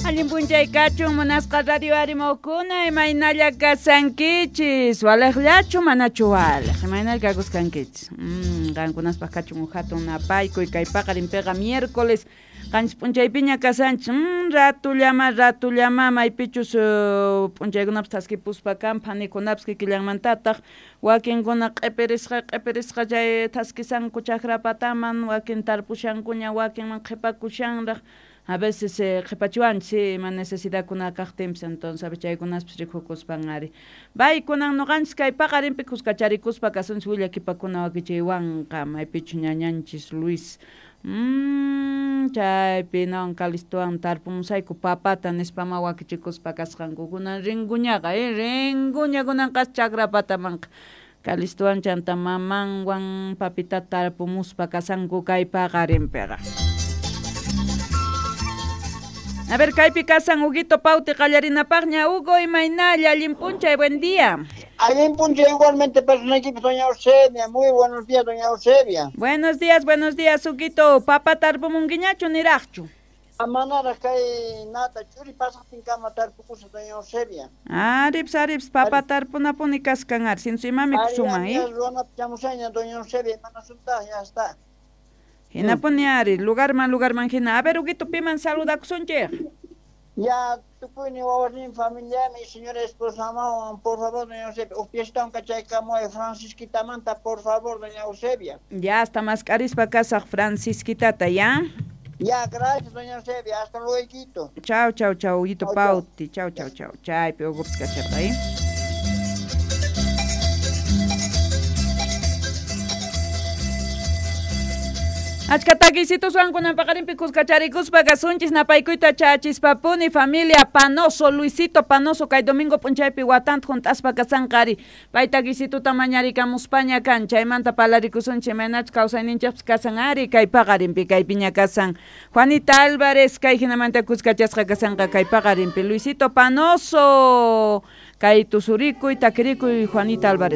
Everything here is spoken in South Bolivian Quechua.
Allin p'unchay kachun munasqa radio arimukuna imaynalla kasankichis waliqllachu manachu waliq imaynalla kakuskankichis qankunaspaq kachun uj hatun napaykuy kay paqarinpiqa miércoles qanchis p'unchaypiña kasanchis ratullama ratullama maypichus p'unchaykunapas thaskipuspa kan phanikunapis kikillanmantataq wakinkuna q'ipirisqa q'ipirisqa chay thaskisanku chakrapataman wakin tarpushankuña wakinman qhipakushanraq a veces qhipachiwanchis ima necesidadkuna kaqtinpis entonces chaykunaspis rikukuspan ari baykunan nuqanchis kay paqarinpi kuskacharikuspa kasunchis willakipakuna wakichiywanqa maypichu ñañanchis Luis chaypi nawan Calistowan tarpumusayku papata nispama wakichikuspa kasqanku kunan rinkuñaqa rinkuña kunanqa chakrapatamanqa Calistowan chanta mamanwan papitata tarpumuspa kasanku kay paqarinpiqa. A ver, kaypi kasan Huguito Pauti qallarinapaqña. Hugo, imaynalla, allin p'unchay, buen día. Allin p'unchay igualmente personaykipis, doña Eusebia. Muy buenos días, doña Eusebia. Buenos días, Huguito. Papa tarpumunkiñachu niraqchu? Manaraq kay nata churi pasaqtinkama tarpukusaq, doña Eusebia. Arips, arips, papa tarpunapuni kaskan ari, sinchu imami kusuman, eh? Ruwanata chamusayña, doña Eusebia, imanasuntaq, ya está. Hinapuni ari, lugarman, lugarman hina. A ver, Huguito, piman saludakusunchik. Ya, tukuyni wawasnin familiami, señora esposa mawan, por favor, doña Eusebia. Uj fiestawan kachaykamuway Francisquitamanta, por favor, doña Eusebia. Ya, hasta mascarispa kasaq Francisquitata, ¿ya? Ya, gracias, doña Eusebia. Hasta luego. Chau, chau, chau, Huguito Pauti. Chau, chau, chau. Chaypi Hugopis kacharqa, ¿eh? Achka takisituswan kunan paqarinpi kuskacharikuspa kasunchis napaykuyta chachispapuni familia Panoso, Luisito Panoso kay domingo p'unchaypi watanta hunt'aspa kasanqa ari pay takisituta mañarikamuspaña kan chaymanta parlarikusunchik imaynachus kawsayninchikpis kasan ari kay paqarinpi kaypiña kasan Juanita Álvarez kay hinamanta kuskachasqa kasanqa kay paqarinpi Luisito Panoso kay tusurikuy takirikuy Juanita Álvarez.